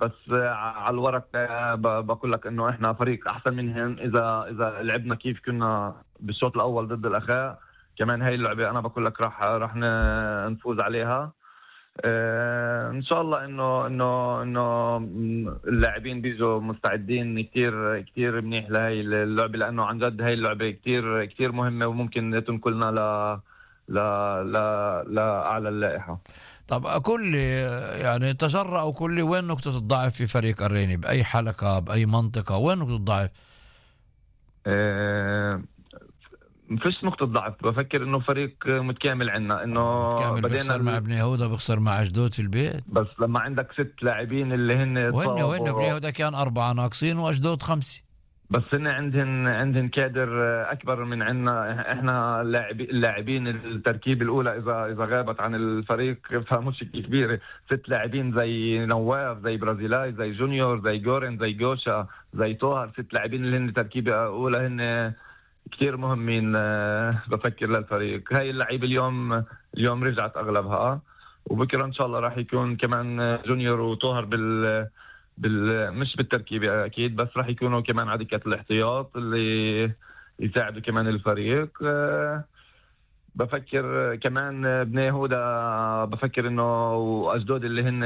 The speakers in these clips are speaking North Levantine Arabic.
بس على الورق بقول لك انه احنا فريق احسن منهم. اذا لعبنا كيف كنا بالشوط الاول ضد الاخاء، كمان هاي اللعبه انا بقول لك راح نفوز عليها. ان شاء الله انه اللاعبين بيجوا مستعدين كتير كتير منيح لهي اللعبه، لانه عن جد هاي اللعبه كتير كتير مهمه وممكن تنقلنا لاعلى اللائحه. طب أقول لي يعني تجرأ وقول لي وين نقطة الضعف في فريق الريني، بأي حلقة بأي منطقة، وين نقطة الضعف؟ مفيش نقطة ضعف، بفكر انه فريق متكامل عنا، انه متكامل. بيخسر مع بني يهودا، بيخسر مع أشدود في البيت، بس لما عندك 6 لاعبين اللي هن وين بني يهودا كان 4 ناقصين وأشدود 5، بس هن عندهن كادر اكبر من عنا. احنا اللاعبين التركيبه الاولى اذا غابت عن الفريق فمشكله كبيره. 6 لاعبين زي نواف، زي برازيلاي، زي جونيور، زي جورن، زي جوشا، زي طوهر. 6 لاعبين اللي هن تركيبه اولى، هن كتير مهمين بفكر للفريق. هاي اللعيبه اليوم رجعت اغلبها، وبكره ان شاء الله راح يكون كمان جونيور وطوهر مش بالتركيبة أكيد، بس راح يكونوا كمان عدكة الاحتياط اللي يساعدوا كمان الفريق. بفكر كمان بني يهودا، بفكر إنه وأجدود اللي هن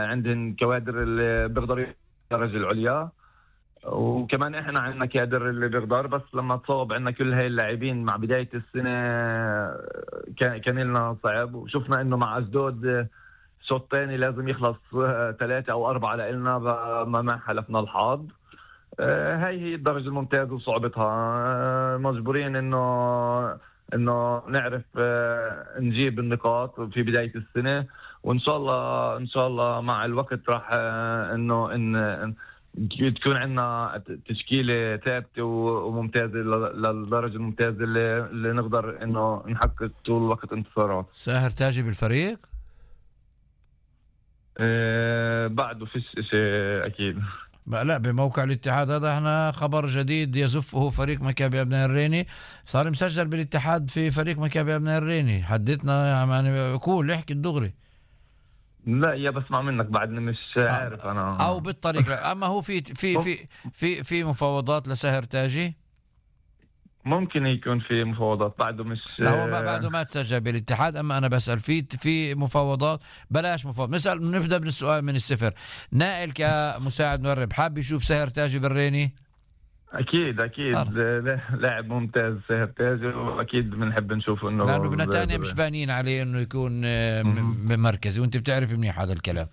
عندهم كوادر اللي بيقدروا الدرجة العليا، وكمان إحنا عندنا كادر اللي بيقدر. بس لما تصوب عندنا كل هاي اللاعبين مع بداية السنة كان لنا صعب، وشفنا إنه مع أجدود شوط تاني لازم يخلص 3 أو 4 لإلنا، ما حلفنا الحظ. هاي هي الدرجة الممتازة وصعوبتها. مجبورين إنه نعرف نجيب النقاط في بداية السنة، وإن شاء الله مع الوقت راح إنه تكون عندنا تشكيلة ثابتة وممتازة للدرجة الممتازة اللي نقدر إنه نحقق طول الوقت انتصارات. ساهر تاجي بالفريق؟ بعده فيش شيء أكيد. لا، بموقع الاتحاد هذا احنا خبر جديد يزفه فريق مكابي أبناء الريني، صار مسجل بالاتحاد في فريق مكابي أبناء الريني. حدثنا يعني قول احكي الدغري. لا يا بسمع منك بعدني مش عارف أنا أو بالطريق. أما هو في مفاوضات لساهر تاجي؟ ممكن يكون في مفاوضات، بعده مش. لا هو بعده ما تسجل بالاتحاد. اما انا بسأل في مفاوضات. بلاش مفاوضات، نبدأ من السؤال من الصفر. نائل كمساعد مدرب حاب يشوف ساهر تاجي بالريني؟ اكيد لاعب ممتاز ساهر تاجي، واكيد بنحب نشوفه انه لانه بنتانيا مش بانين عليه انه يكون مركزي، وانت بتعرف منيح هذا الكلام.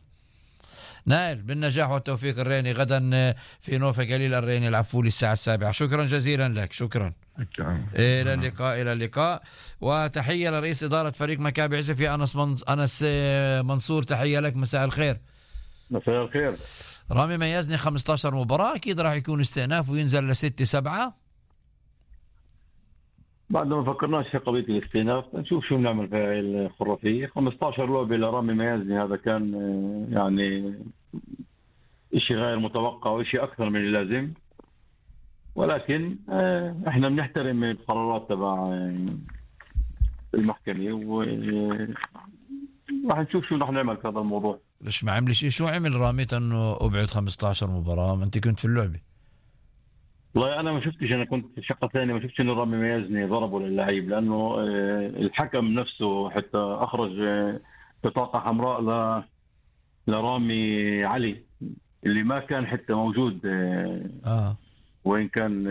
نائل بالنجاح والتوفيق. الريني غدا في نوفا قليل الريني العفولي الساعة 7. شكرا جزيلا لك. شكرا. إلى اللقاء. وتحية لرئيس إدارة فريق مكابي عزفي أنس منصور. تحية لك، مساء الخير. مساء الخير. رامي ميزني 15 مباراة، أكيد راح يكون استئناف وينزل ل6-7. بعد ما فكرناش في قضية الاستئناف، نشوف شو بنعمل في الخرافية. 15 لعبة لرامي ميزني، هذا كان يعني إشي غير متوقع وإشي أكثر من اللازم، ولكن احنا بنحترم القرارات تبع المحكمة، وراح نشوف شو راح نعمل في هذا الموضوع. ليش ما عمل شيء؟ شو عمل رامي انه ابعد 15 مباراة؟ ما انت كنت في اللعبة. والله انا ما شفتش، انا كنت في شقة ثانية، ما شفتش انه رامي ميزني ضربه للعيب، لانه الحكم نفسه حتى اخرج بطاقة حمراء لرامي علي اللي ما كان حتى موجود. وين كان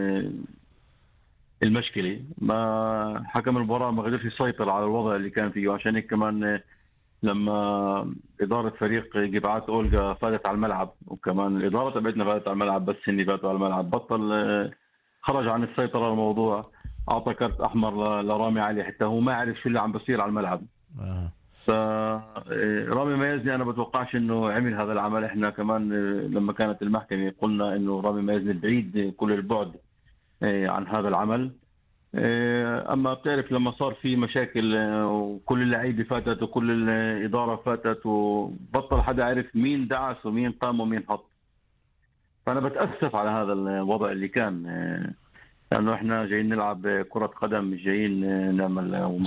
المشكلة؟ ما حكم المباراة ما قدرش يسيطر على الوضع اللي كان فيه، وعشان هيك كمان لما إدارة فريق جبعات أولغا فاتت على الملعب، وكمان الإدارة تبعتنا فاتت على الملعب، بس إني فاتوا على الملعب بطل خرج عن السيطرة على الموضوع، أعطى كرت أحمر لرامي علي حتى هو ما عرف شو اللي عم بصير على الملعب. فرامي ميزني أنا بتوقعش إنه عمل هذا العمل. إحنا كمان لما كانت المحكمة قلنا إنه رامي ميزني بعيد كل البعد عن هذا العمل. أما بتعرف لما صار في مشاكل وكل اللعيبة فاتت وكل الإدارة فاتت وبطل حدا عرف مين دعس ومين قام ومين حط، فأنا بتأسف على هذا الوضع اللي كان، لأنه إحنا جايين نلعب كرة قدم، مش جايين نعمل.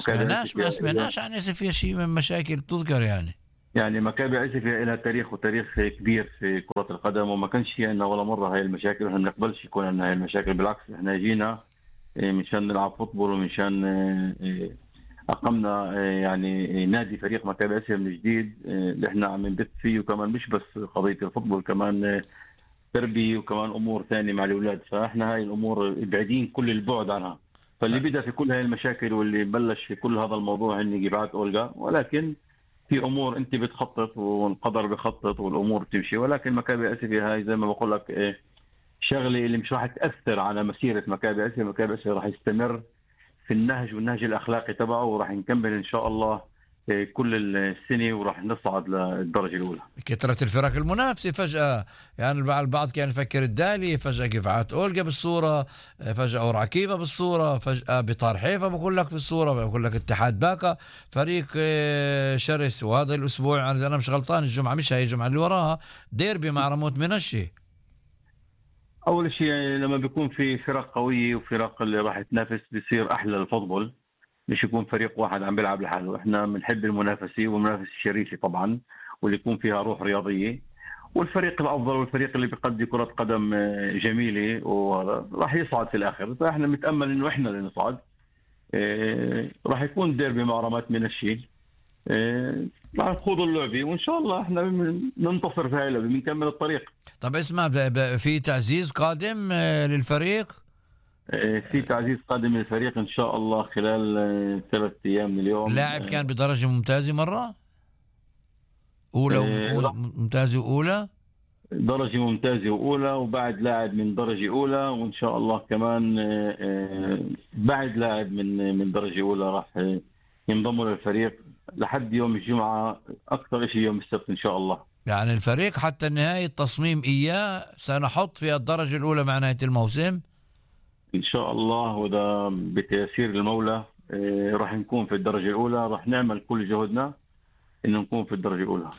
ما سمعناش عن في شيء من مشاكل تذكر يعني. يعني مكابي عزفة لها تاريخ وتاريخ كبير في كرة القدم، وما كانش في عندنا ولا مرة هاي المشاكل، ونحن ما بنقبلش يكون عندنا هاي المشاكل. بالعكس احنا جينا مشان نلعب فوتبول، ومشان أقمنا يعني نادي فريق مكابي عزفة من جديد اللي احنا عم نبث فيه، وكمان مش بس قضية الفوتبول، كمان تربية وكمان أمور ثانية مع الأولاد. فاحنا هاي الأمور بعيدين كل البعد عنها. فاللي بدأ في كل هاي المشاكل واللي بلش في كل هذا الموضوع هن جماعة أولغا، ولكن في امور انت بتخطط والقدر بخطط والامور بتمشي. ولكن مكابي عزفة هاي زي ما بقول لك شغله اللي مش راح تاثر على مسيره مكابي عزفة. مكابي عزفة راح يستمر في النهج والنهج الاخلاقي تبعه، وراح نكمل ان شاء الله كل السنه، وراح نصعد للدرجه الاولى. كثرة الفرق المنافسة فجأة، يعني البعض كان يفكر الدالي، فجأة جفعات أولجا بالصورة، فجأة أورعكيفة بالصورة، فجأة بطار حيفا بقول لك في الصورة، بقول لك اتحاد باكا فريق شرس. وهذا الأسبوع يعني أنا مش غلطان الجمعة، مش هاي الجمعة اللي وراها، ديربي مع رموت منشي. اول شيء يعني لما بيكون في فرق قويه وفرق اللي راح تنافس بيصير احلى الفوتبول، مش يكون فريق واحد عم بيلعب لحاله. احنا بنحب المنافسه والمنافسه الشريفه طبعا، واللي يكون فيها روح رياضيه، والفريق الافضل والفريق اللي بيقدم كره قدم جميله وراح يصعد في الاخر. فاحنا بنتامل انه احنا اللي نصعد. راح يكون ديربي مع رمات منشي، راح نخوض اللعبه، وان شاء الله احنا ننتصر في هاي اللعبه، بنكمل الطريق. طب اسمع، في تعزيز قادم للفريق؟ في تعزيز قادم للفريق ان شاء الله خلال 3 ايام من اليوم. لاعب كان بدرجه ممتازه مره اولى ممتازه واولى، درجه ممتازه واولى، وبعد لاعب من درجه اولى، وان شاء الله كمان بعد لاعب من درجه اولى راح ينضموا للفريق لحد يوم الجمعه، اكثر شيء يوم السبت ان شاء الله. يعني الفريق حتى نهايه التصميم اياه سنحط في الدرجه الاولى مع نهايه الموسم ان شاء الله، وإذا بتيسير المولى راح نكون في الدرجه الاولى. راح نعمل كل جهدنا انه نكون في الدرجه الاولى.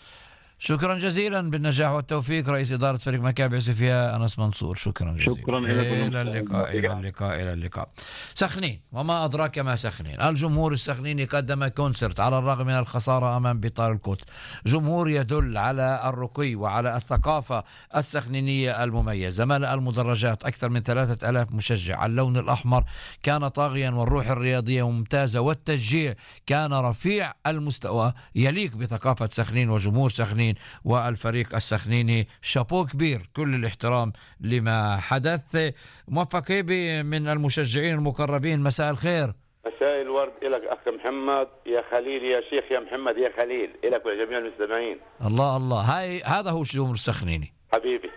شكرا جزيلا، بالنجاح والتوفيق رئيس إدارة فريق مكابي عزفة أنس منصور. شكرا جزيلا. شكرا إلى اللقاء. سخنين، وما أدراك ما سخنين. الجمهور السخنيني قدم كونسرت على الرغم من الخسارة أمام بطار الكوت. جمهور يدل على الرقي وعلى الثقافة السخنينية المميزة. ملأ المدرجات أكثر من 3000 مشجع. اللون الأحمر كان طاغيا، والروح الرياضية ممتازة، والتشجيع كان رفيع المستوى يليق بثقافة سخنين وجمهور سخنين والفريق السخنيني. شابو كبير، كل الاحترام لما حدث. موفق هيبي من المشجعين المقربين، مساء الخير. مساء الورد لك أخ محمد يا خليل، يا شيخ يا محمد يا خليل، لك ولجميع المستمعين. الله هذا هو الجمهور السخنيني حبيبي،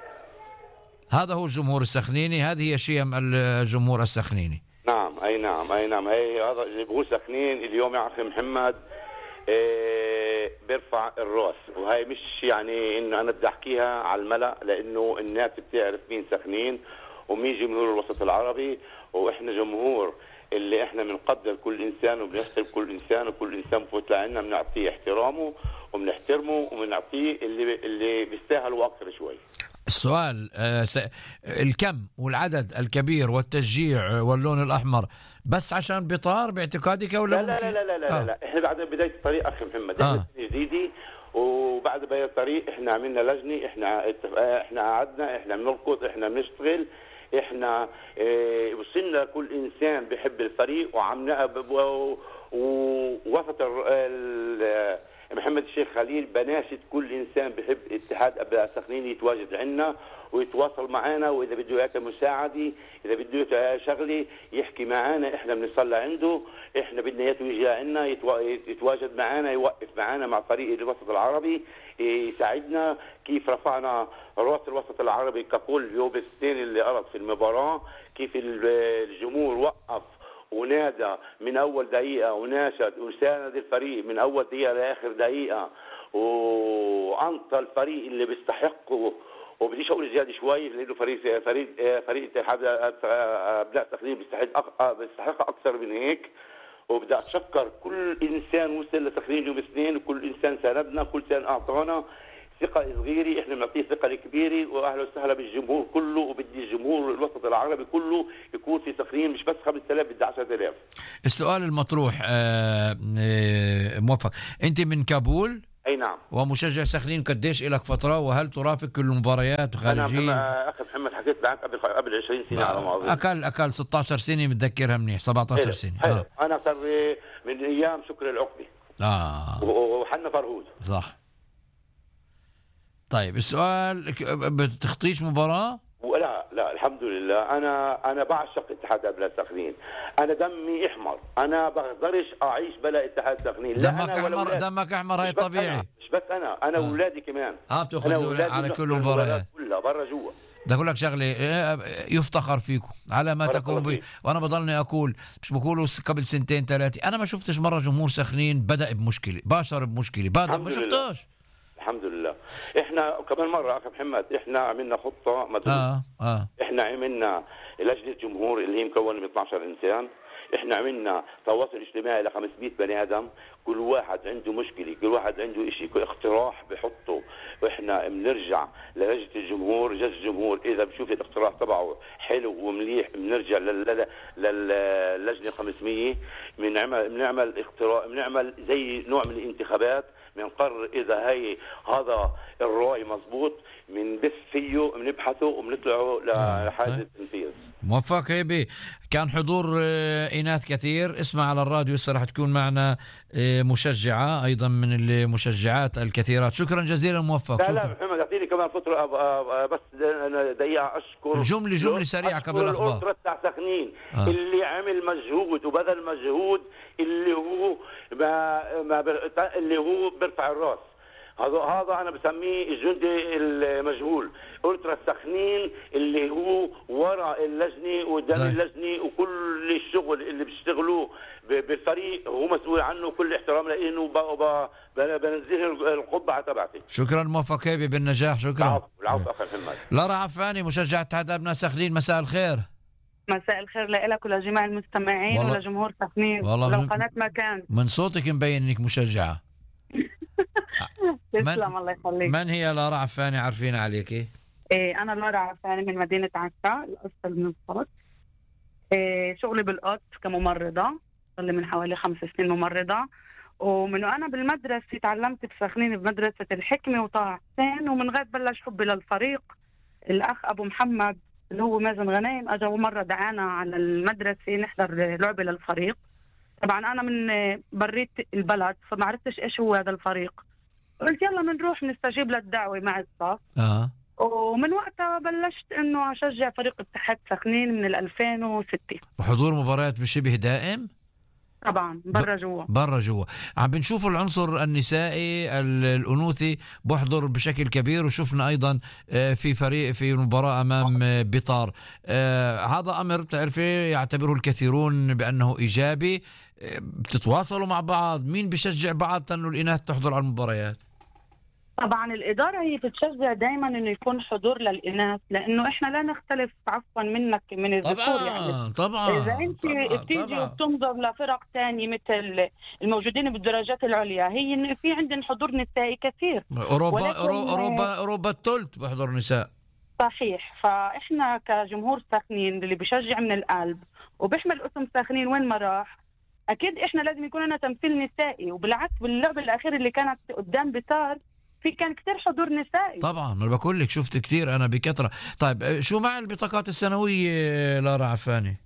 هذا هو الجمهور السخنيني، هذه هي شيم الجمهور السخنيني. نعم أي نعم هي هذا جمهور سخنين اليوم يا أخ محمد. بيرفع الراس، وهي مش يعني انه انا بدي احكيها على الملأ، لانه الناس بتعرف مين سخنين ومين جمهور الوسط العربي، واحنا جمهور اللي احنا بنقدر كل انسان وبنحترم كل انسان، وكل انسان بفوت لعنا بنعطيه احترامه وبنحترمه وبنعطيه اللي بيستاهل واكثر شوي. السؤال الكم والعدد الكبير والتشجيع واللون الأحمر بس عشان بطار باعتقادك ولا لا لا لا لا لا, لا. احنا بعد بداية الطريق أخي محمد احنا جديدي، وبعد بداية الطريق احنا عملنا لجنة، احنا قعدنا، احنا بنركض، احنا بنشتغل، احنا وصلنا كل انسان بيحب الفريق ووسط محمد الشيخ خليل بناشد كل انسان بحب اتحاد ابناء سخنين يتواجد عندنا ويتواصل معنا، واذا بده اياك مساعده، اذا بده شغله يحكي معنا، احنا بنصلي عنده، احنا بدنا اياه يجي عندنا يتواجد معنا، يوقف معنا مع فريق الوسط العربي، يساعدنا كيف رفعنا راس الوسط العربي ككل يوم السنين اللي قرض في المباراه، كيف الجمهور وقف ونادى من اول دقيقه وناشد وساند الفريق من اول دقيقه لاخر دقيقه، وانطى الفريق اللي بيستحقه. وبديش اقول زياده شوي لانه فريق اتحاد ابناء سخنين بيستحق اكثر من هيك. وبدي اتشكر كل انسان وصل لسخنين يوم الاثنين، وكل انسان ساندنا، كل انسان اعطانا ثقة صغيرة، احنا بنعطيه ثقة كبيرة، واهلا وسهلا بالجمهور كله، وبدي الجمهور الوسط العربي كله يكون في سخنين، مش بس 5000 بدي 10,000. السؤال المطروح موفق، انت من كابول؟ اي نعم. ومشجع سخنين قديش لك فتره، وهل ترافق كل المباريات وخارجيه؟ انا اخي محمد حكيت معك قبل 20 سنه على ما اظن. اكل 16 سنه متذكرها منيح، 17 سنه. حلو. انا صار من ايام شكر العقبي وحنا فرهود. صح. طيب السؤال، بتخطيش مباراه؟ لا الحمد لله. انا بعشق اتحاد ابناء سخنين، انا دمي احمر، انا بقدرش اعيش بلا اتحاد سخنين. دمك احمر، هاي طبيعي. مش بس انا واولادي كمان. بتاخذ على كل المباريات كلها برا جوا. بدي اقول لك شغله، يفتخر فيكم على ما تكون وانا بضلني اقول، مش بقولوا قبل 2 3 انا ما شفتش مره جمهور سخنين بدا بمشكله، باشر بمشكله، ما شفتوش. الحمد لله. احنا كمان مره اخي محمد، احنا عملنا خطه مدروسه. احنا عملنا لجنه جمهور اللي هي مكونه من 12 انسان. احنا عملنا تواصل اجتماعي ل 500 بني ادم، كل واحد عنده مشكله، كل واحد عنده شيء، اقتراح بحطه، واحنا بنرجع للجنه الجمهور. جلسه الجمهور اذا بشوف الاقتراح تبعه حلو ومليح، بنرجع للجنه 500، بنعمل اقتراح، بنعمل زي نوع من الانتخابات، بنقرر اذا هذا الرأي مزبوط، بنبث فيه، بنبحثه وبنطلعه لحاجه التنفيذ. موفق هيبي. كان حضور إناث كثير. اسمع على الراديو هسه رح تكون معنا مشجعة أيضا من المشجعات الكثيرات. شكرا جزيلا موفق. لا محمد اعطيني كمان فترة بس أنا دقيقة أشكر جملة سريعة قبل الأخبار. الأسرة تاع سخنين اللي عمل مجهود وبذل مجهود، اللي هو بيرفع الراس. هذا انا بسميه الجندي المجهول. ألترا سخنين اللي هو وراء اللجنه وقدام اللجنه، وكل الشغل اللي بيشتغلوه بالفريق هو مسؤول عنه. كل احترام لانه بنزله القبعه تبعتي. شكرا موفق هيبي، بالنجاح. شكرا. العفو اخي محمد. لارا عفاني، مشجع اتحاد ابناء سخنين، مساء الخير. مساء الخير لك ولجميع المستمعين ولجمهور سخنين ولو قناة مكان. من صوتك مبين انك مشجعة. تسلم الله يخليك. من هي لارا عفاني؟ عارفين عليكي. أنا لارا عفاني من مدينة عكا، الأصل من الصوت. شغلي بالقط كممرضة، صار لي من حوالي 5 سنين ممرضة. ومن وأنا بالمدرسة تعلمت بسخنين بمدرسة الحكمة وطه حسين، ومن غير بلش حبي للفريق. الأخ أبو محمد اللي هو مازن غنايم أجا مرة دعانا على المدرسة نحضر لعبة للفريق. طبعا أنا من بريت البلد فما عرفتش إيش هو هذا الفريق. قلت يلا بنروح نستجيب للدعوة مع الصف. ومن وقتها بلشت إنه أشجع فريق اتحاد سخنين من 2006. وحضور مباريات بشبه دائم؟ طبعا برا جوا. عم بنشوف العنصر النسائي الأنوثي بحضر بشكل كبير، وشفنا أيضا في فريق في مباراة أمام بطار. هذا أمر بتعرفي يعتبره الكثيرون بأنه إيجابي. بتتواصلوا مع بعض؟ مين بيشجع بعض أنه الإناث تحضر على المباريات؟ طبعا الإدارة هي بتشجع دائما إنه يكون حضور للإناث، لأنه إحنا لا نختلف عفوا منك من الذكور. يعني طبعا إذا أنت بتيجي وبتنظر لفرق تانية مثل الموجودين بالدرجات العليا، هي إنه في عندنا حضور نسائي كثير. أوروبا الثلث بحضر نساء. صحيح. فإحنا كجمهور سخنين اللي بيشجع من القلب وبيحمل اسم سخنين وين ما راح، أكيد إحنا لازم يكون لنا تمثيل نسائي. وبالعكس باللعبة الأخيرة اللي كانت قدام بتار كان كتير حضور نسائي. طبعا ما بقول لك شفت كتير أنا بكثرة. طيب شو مع البطاقات السنوية لارا عفاني؟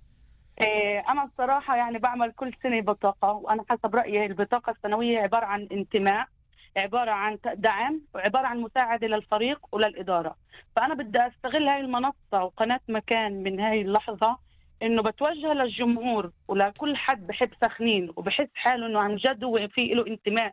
أنا الصراحة يعني بعمل كل سنة بطاقة، وأنا حسب رأيي البطاقة السنوية عبارة عن انتماء، عبارة عن دعم، وعبارة عن مساعدة للفريق وللإدارة. فأنا بدي أستغل هاي المنصة وقناة مكان من هاي اللحظة إنه بتوجه للجمهور ولكل حد بحب سخنين وبحس حاله إنه عن جد هو في له انتماء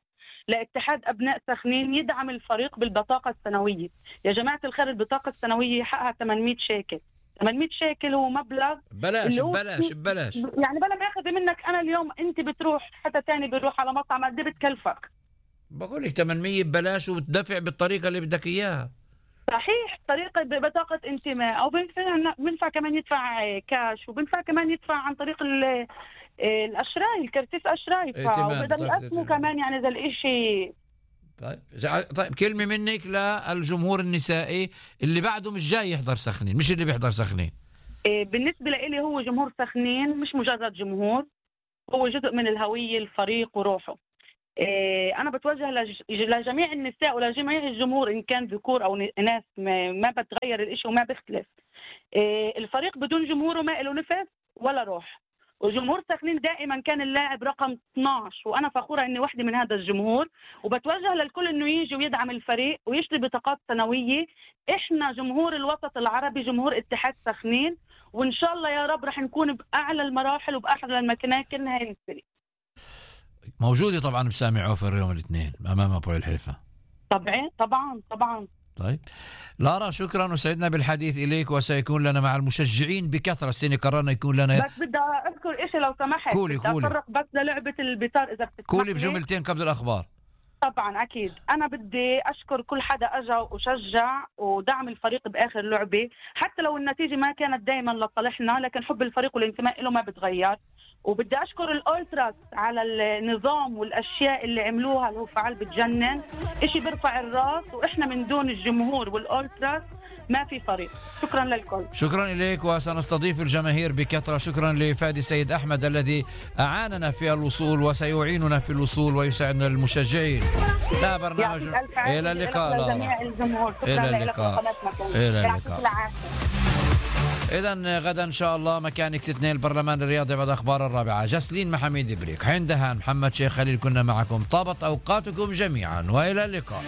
لاتحاد أبناء سخنين، يدعم الفريق بالبطاقة السنوية. يا جماعة الخير البطاقة السنوية حقها 800 شيكل. 800 شيكل هو مبلغ ببلاش يعني بلا ما ياخذ منك. أنا اليوم أنت بتروح حتى تاني بيروح على مطعم قد بتكلفك؟ بقول لك 800 ببلاش وبتدفع بالطريقة اللي بدك إياها. صحيح، طريقة ببطاقة انتماء، أو بنفع كمان يدفع كاش، وبنفع كمان يدفع عن طريق الأشراي، الكرتيس أشراي، وبقدر يقسموا كمان يعني ذا الإشي. طيب كلمة منك للجمهور النسائي اللي بعده مش جاي يحضر سخنين، مش اللي بيحضر سخنين. بالنسبة لي هو جمهور سخنين مش مجرد جمهور، هو جزء من الهوية الفريق وروحه. أنا بتوجه لجميع النساء ولجميع الجمهور إن كان ذكور أو إناث، ما بتغير الإشي وما بيختلف. الفريق بدون جمهوره ما له نفس ولا روح، وجمهور سخنين دائما كان اللاعب رقم 12، وأنا فخورة إني واحدة من هذا الجمهور، وبتوجه للكل إنه يجي ويدعم الفريق ويشتري بطاقات سنوية. إحنا جمهور الوسط العربي، جمهور اتحاد سخنين، وإن شاء الله يا رب رح نكون بأعلى المراحل وبأعلى المكانين هاي الفريق. موجودة طبعا بسامي عوفر يوم الاثنين أمام أبوي الحيفا. طبعا. طيب لارا، شكرا وسعدنا بالحديث إليك، وسيكون لنا مع المشجعين بكثرة. السنة قررنا يكون لنا، بس بدي أذكر إشي لو سمحت. قولي أفرق بس للعبة البطار إذا بتسمح لي. قولي بجملتين قبل الأخبار. طبعا أكيد. أنا بدي أشكر كل حدا أجا وشجع ودعم الفريق بآخر لعبة، حتى لو النتيجة ما كانت دائما لصالحنا، لكن حب الفريق والانتماء له ما بتغير. وبدي أشكر الأولتراس على النظام والأشياء اللي عملوها، اللي هو فعال بتجنن، إشي بيرفع الراس، وإحنا من دون الجمهور والأولتراس ما في فريق. شكرا للكل. شكرا إليك، وسنستضيف الجماهير بكثرة. شكرا لفادي سيد أحمد الذي أعاننا في الوصول وسيعيننا في الوصول ويساعدنا المشجعين. لا برنامج. إلى اللقاء لجميع الجمهور. إلى اللقاء. إذن غدا إن شاء الله مكان إكس 2 البرلمان الرياضي بعد أخبار 4. جسلين محمد بريك، حين دهان، محمد شيخ خليل، كنا معكم. طابت أوقاتكم جميعا وإلى اللقاء.